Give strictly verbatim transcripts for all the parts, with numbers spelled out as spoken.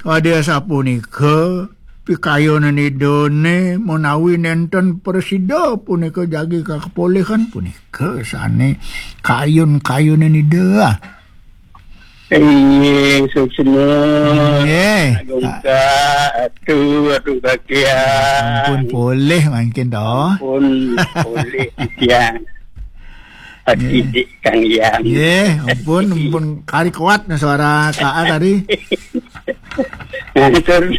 Kadi asapunika pikayunan Idane menawi nenten prasida punika jagi kakepolihan punika sane kayun-kayunan Ida. Inggih, suksma. Inggih. Agung ka, atu, atu kakian. Ampun polih mangkin to. Ampun polih titiang. Ati Nggih. Dik Kang Yang. Nggih, ampun, ampun kari kuat nah suara K A tadi. Nah, terus.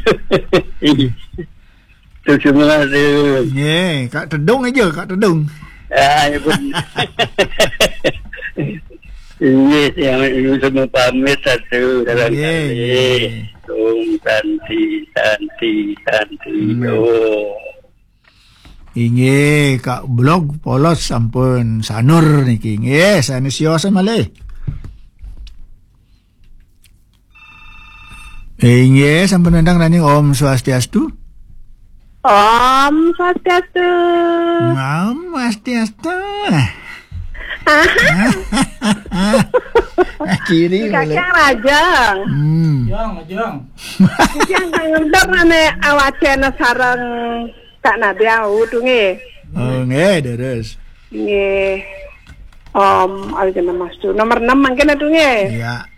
Terus semua tu. Nggih, Kak Tedung aja, Kak Tedung. Ah, ya pun. Inggih, yang ini semua pamit satu dalam Nggih, kali. Nggih. Om Santi, Santi, Santi. Nggih. Om. Inggih, Kak Blog polos sampun sanur niki. Nggih, sanes sios malih. Inggih, sampun wénten raning Om Swastiastu. Om Swastiastu. Om Swastiastu. Aha. Kiri boleh. Kakang Rajang. Hmm. Jang, jang. Kakang kang ngendor nane awacana sareng Kak Nadia udu nggih. Oh, nggih, terus. Nggih. Om, awacana Mas tu. Nomor enam mangkin atu nggih. Iya.